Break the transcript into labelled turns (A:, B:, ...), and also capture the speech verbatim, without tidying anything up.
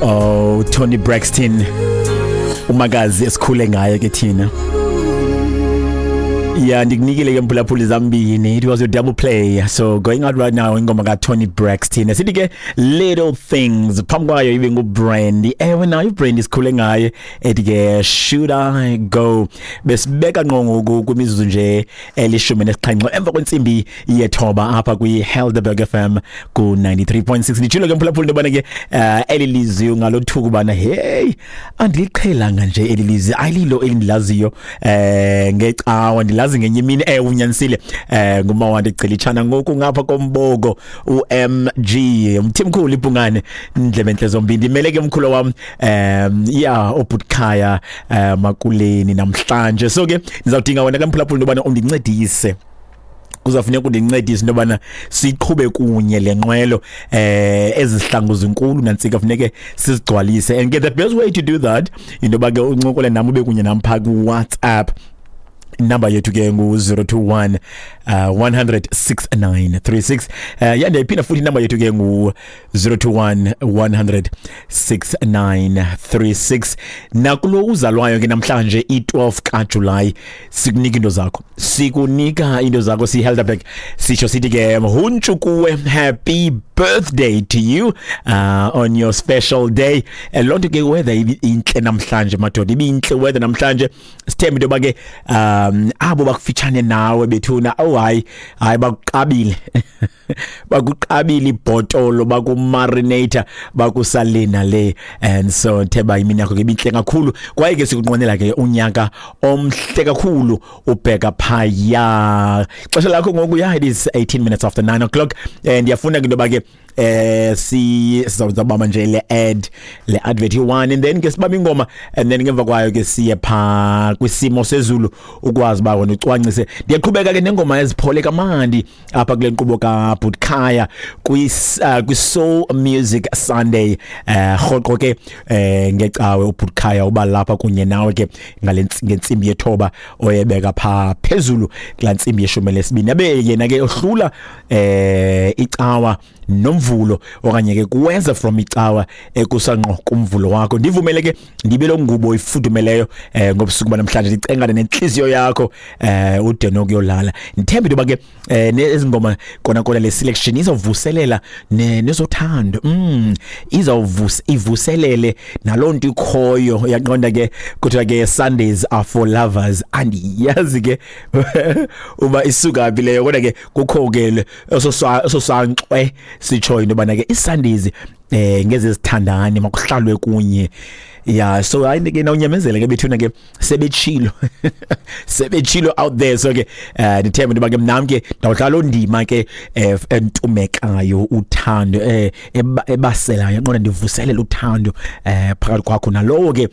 A: Oh, Toni Braxton, umakazi esikhule ngaye ke thina. Yeah, ndikunikile ke, mphulaphuli, zambini. It was your double play. So going out right now, ingoma ka Toni Braxton. Sithi ke "Little Things". Phambi kwayo ibe nguBrandy. Ewe, nayo uBrandy sikhule ngaye, ethi ke "Should I Go". Besibeka ngqo ngoku kwimizuzu nje elishumi nesixhenxe emva kwentsimbi yethoba apha kwi Helderberg F M ku ninety-three point six. Nditshilo ke, mphulaphuli, into yobana ke eh, eli lizwi ungalothuka ubana hey, andiliqhelanga nje eli lizwi, ayililo elindilaziyo eh ngecawa, ndilazi ngenye imini. eh unyanisile eh ngumawande Gcilitshana ngoku ngapha komboko, u M G umthimkhulu ibhungane, indlebe enhle zombini. Ndimele ke mkhulu wam, um yeah, obutkhaya eh makuleni namhlanje. So ke ndizawudinga wena ke, mphulaphuli, into yobana undincedise. Kuzafuneka undincedise into yobana siqhube kunye le nqwelo. eh ezihlangu zinkulu nantsika, funeke sizigcwalise, and ke the best way to do that, into yoba ke uncokole nam, ube kunye nam phaa ku-WhatsApp. Inamba yethu ke ngu-zero two one uh, one hundred six nine three six. uh, ya ndiyayiphinda futhi, inamba yethu ke ngu-zero two one one hundred six nine three six. Nakulo uzalwayo ke namhlanje, i-twelve kaJulayi, sikunika into zakho, sikunika into zakho siyiHelderberg. Sitsho sithi ke huntshu kuwe, happy birthday to you uh, on your special day. eh, loo nto ke, weather intle namhlanje, madoda, ibintle weather namhlanje. Sithembe into yoba ke um abo bakufitshane nawe bethuna, oh hayi hayi, bakuqabile, bakuqabile ibhotolo, bakumarinator, bakusalina le. And so theba imini yakho ke ibintle kakhulu, kwaye ke sikunqwenela ke unyaka omhle kakhulu ubheka phaya. Xesha lakho ngoku, ya, it is eighteen minutes after nine o'clock, and ndiyafuna ke into yoba ke eh si sizawubamba nje le ad le advert one, and then ke sibamba ingoma, and then ngemva kwayo ke siye pha kwisimo sezulu, ukwazi ba wena ucwangcise. Ndiyaqhubeka ke nengoma eziphole kamandi apha kule nkqubo ka Butkhaya kwi uh, kwi Soul Music Sunday. eh rhoqo ke eh ngecawe uButkhaya uba lapha kunye nawe ke ngale ngentsimbi yethoba oyebeka pha phezulu kula ntsimbi yeshumi lesibini, abe yena ke ohlula eh icawa nomvulo, okanye ke kuwenza from icawa ekusanqo kumvulo wakho. Ndivumele ke ndibe lo ngubo ifudumeleyo eh ngobusuku banamhlanje, ndicengane nenhliziyo yakho eh ude nokuyolala. Ndithembe into ke eh nezingoma kona kona le selection izovuselela nezothando, mm izawuvusa, ivuselele nalonto ikhoyo. Uyaqonda ke, kuthiwa ke Sundays are for lovers. Andiyazi ke uba isuka phi leyo, kodwa ke kukho ke ososankxwe sitsho into yobana ke iSundays eh ngezezithandani, makuhlalwe kunye. Yeah, so hayi ke, nawunyamezele ke bethuna ke, sebetshilo, sebetshilo out there. So ke eh ndithemba into ke mnam ke ndawudlala ondima ke eh, entumekayo uthando, eh ebaselayo, yaqonda, ndivuselela uthando eh phakathi kwakho nalowo ke.